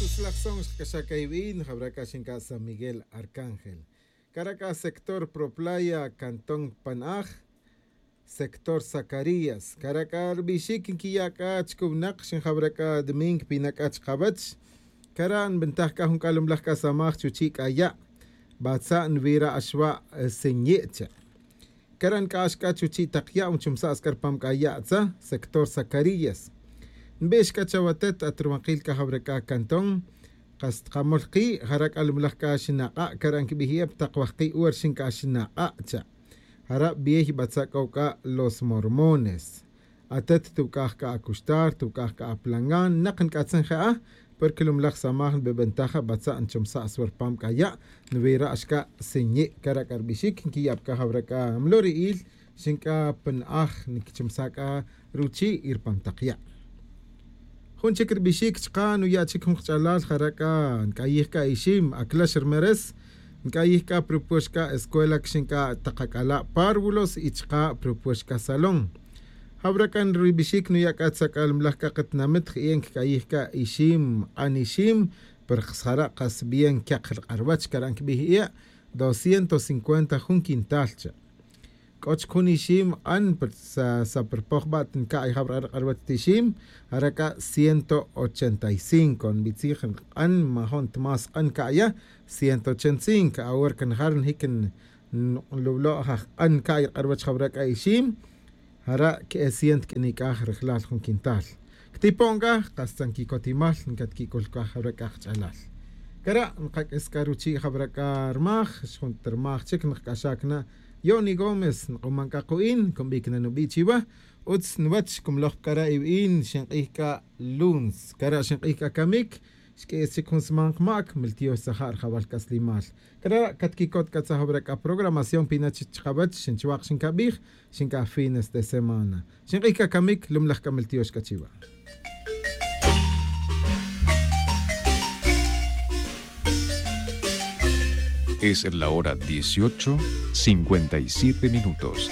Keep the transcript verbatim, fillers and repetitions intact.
Utzlaj son xkac'axaj c'a iwin jawra c'a xin c'a san miguel arcángel. Cara c'a sector proplaya cantón panaj, sector zacarías. Cara c'a rubixic nquiya' c'a chic winak xin jawra c'a domingo pina c'a chkawech. Cara nbintaj c'a jun c'alumlaj c'a samaj chuchi' c'a ya'. Batza' nvira' axwa' sinyi' cha'. Cara nc'ax c'a chuchi' tak ya' nchumsa' c'a rpam c'a ya' tza sector zacarías. Nbix c'a chawatet at ruwankil c'a jawra c'a cantón. Kas tkamol ki' jara' c'alumlaj c'a xinak'a' cara' nquibij ep tak wajki' wer xin c'a xinak'a' cha'. Jara' biyey batza' c'o c'a los mormones. Atet tuc'aj c'a acuxtar tuc'aj c'a aplangan nak nc'atzin je'a. Porque lumlaj samaj nbibintaja batza' nchumsa' swer pam c'a ya' nwira' xca' sinyi' cara' c'a rubixic nquiyab c'a jawra c'a mlori'il. Xin c'a pa na'aj nquichumsa' c'a ruchi' y rpam tak ya'. Jun chic rubixic chka' nuya' chic jun kach'alal jara' c'a nc'ayij c'a ixim aclax rmeres. Nc'ayij c'a propuex c'a escuela quixin c'a tak ac'ala' párvulos y chka' propuex c'a salón. Jawra c'a rubixic nuya' c'a tzak'almlaj c'a katinamit je'e' ncac'ayij c'a ixim q'an ixim. Pero jara' kas bien quek rk'arwech cara' ncabij e' doscientos cincuenta jun quintal cha'. C'o chic jun ixim q'an sapirpoj ba' tinca'y jawra' rk'arwech ta ixim. Jara' c'a ciento ochenta y cinco nbitzij q'an majo' ntimás q'an ca'ya. Ciento ochenta y cinco awor canajar njic nlublo' jaj q'an ca'y rk'arwech jawra' c'a ixim. Jara' que'e cien tq'uini' c'a rajlal jun quintal. Ctipon c'a kas tzan quicotimal ncatquic'ul c'a jawra' c'a kach'alal. Cara' nkac'is c'a ruchi' jawra' c'a rmaj xjun ta rmaj chic nkac'axac na. Yoni gómez nk'uman c'a ku'in cumbic na nubi' chiwa. Utz nwech cumloj pa cara' iwin xink'ij c'a luns cara' xink'ij c'a camic. Xq'uis chic jun sman kmac miltiox tzaja' rjawal c'aslimal. Cara' catquicot c'a tzajawra c'a programación pina chic chkawech xin chwak xincabij. Xin c'a fines de semana xink'ij c'a camic lumlaj c'a miltiox c'a chiwa. Es la hora dieciocho cincuenta y siete minutos.